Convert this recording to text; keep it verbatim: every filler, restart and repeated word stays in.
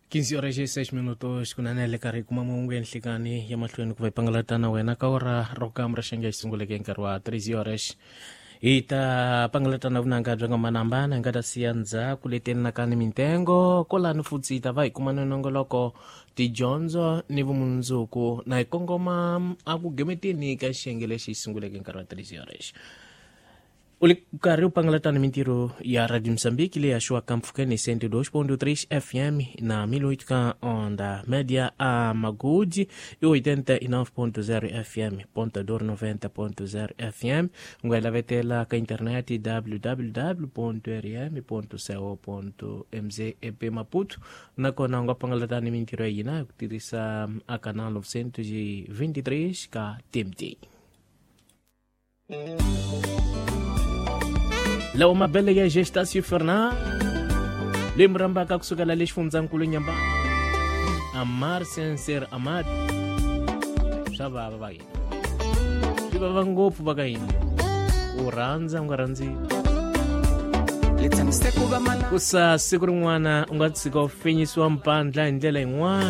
quinze horas e seis minutos kunene le karhi kuma mahungu ya nhlikani ya mahlweni ku va hi pangalatana wena ka ora ro kamra xenge xi sunguleke hi nkarhi wa treze horas hi ta pangalatana vunanga bya nga manambana hi nga ta siya ndzhaku leti nakani mintengo kolani futsi hi ta va hi kuma nonongoloko tidyondzo ni vumundzuku na hi kongoma a ku gemeteni ka xiyenge lexi xi sunguleke hi nkarhi wa treze horas. U le karhi u pangalatana mintirho ya Radio Moçambique leyi haxiwaka mpfhukeni cento e dois ponto três F M na mil e oito ka onda média a Magude e oitenta e nove ponto zero F M, Ponta Dor noventa ponto zero F M. U nga hi lavetela ka internet w w w ponto r m ponto co ponto m z e p Maputo. Nakona u nga pangalatana mintirho ya hina hi ku tirhisa a canal novecentos e vinte e três ka T M T. Lawa mabele ya Gestácio Fernandes leyi mi rhambaka kusukela le xifundzankulu Nyamba Amar Senser Amad swa vava va hina swi vava ngopfu va ka hina u rhandza u nga rhandzi ku sa siku rin'wana u nga tshika u fenyisiwa mpandla hi ndlela yin'wana.